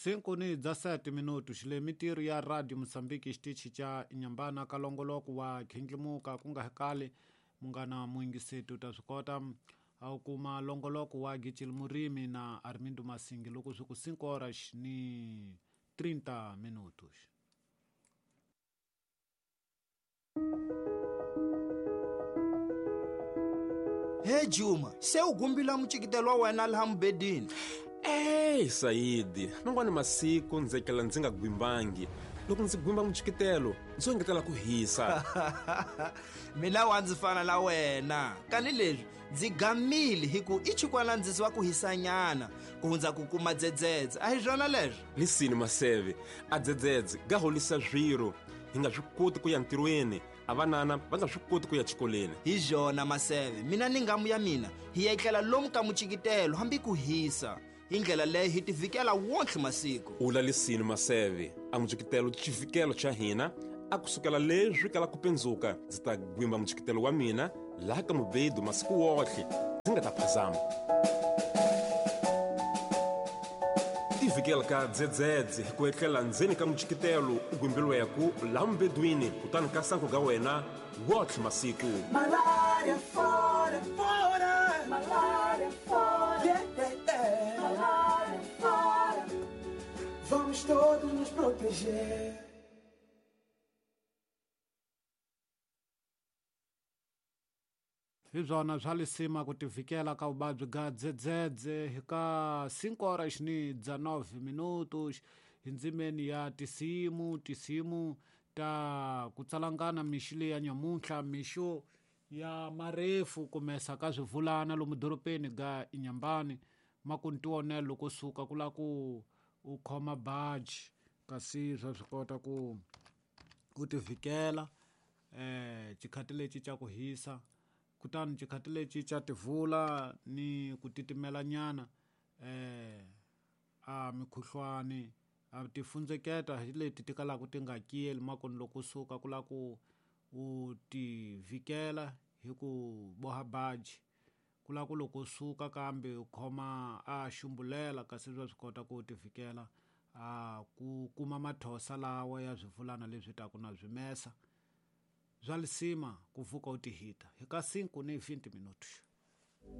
5 ni 17 minuto xile mitirho ya Radio Mozambique xitichi xa Inhambane ka longoloko wa khindlimuka ku nga kali munghana muyingiseti u ta swi kota a wu kuma longoloko wa Gicil Murimi na Armindo Masingi loko swi ku 5 horas ni 30 minutos. He Juma, se u gumbila mucikitelo wa wena laha mubedini. Ey Sayidi, man'wani masiku ndzi etlela ndzi nga gwimbangi. Loko ndzi gwimba mucikitelo, ndzi engetela ku hisa. Mina wa ndzi fana na wena. Kani leswi ndzi gamile hi ku i chikwana ndzi wa ku hisanyana ku hundza ku kuma dzedzedze. A hi swona leswo? Lisini Maseve, a dzedzedze ga holisa swiro. Hi nga swi koti ku ya ntirhweni, a vanana va nga swi koti ku ya xikolweni. Hi byona Maseve, mina ni ngamu ya mina hi ya etlela lomu ka mucikitelo hambi ku hisa. Hi ndlela leyo hi tivikela wontlhe masiku. Ula lisini Maseve, a mucikitelo xivikelo xa hina a kusukela leswi kala ku pendzuka ndzi ta gwimba mucikitelo wa mina laha ka mubedu masiku wotlhe ndzi nga ta phazama. Tivikela ka dzedzedze hi ku etlela ndzeni ka mucikitelo u gwimbiliweku laha mubedwini kutani ka sanku ga wena wotlhe masiku. Malaria fora, fora, malaria fora, yeah, yeah, yeah. Malaria fora. Vamos todos nos proteger. Hi byona swa lisima ku tivikela ka vuvabyi bya dzedzedze hi ka 5 horas ni 19 minutos hi ndzimeni ya tisimu tisimu ta ku tsalangana mixo leyi ya nyamuntlha mixo ya marefu kumesa ka swivulana lomu dorobeni ga Inhambane ma ku ntiwonelo loko suka ku la ku u khoma baji kasi swa swi kota ku u tivikela xikhati lexi xa ku hisa kutani xikhati lexi xa tivula ni ku titimela nyana a mikhuhlwani a tifundzeketa hi leti ti kalaka ti nga kiyeli makoni loko suka ku la ku u tivikela hi ku boha baji ku la ku loko suka kambe u khoma a xumbulela kasi swa swi kota ku tivikela a ku kuma mathosa lawa ya swivulana leswi taku na swimesa bya lisima ku vuka u tihita hi ka 5 ni 20 minutos.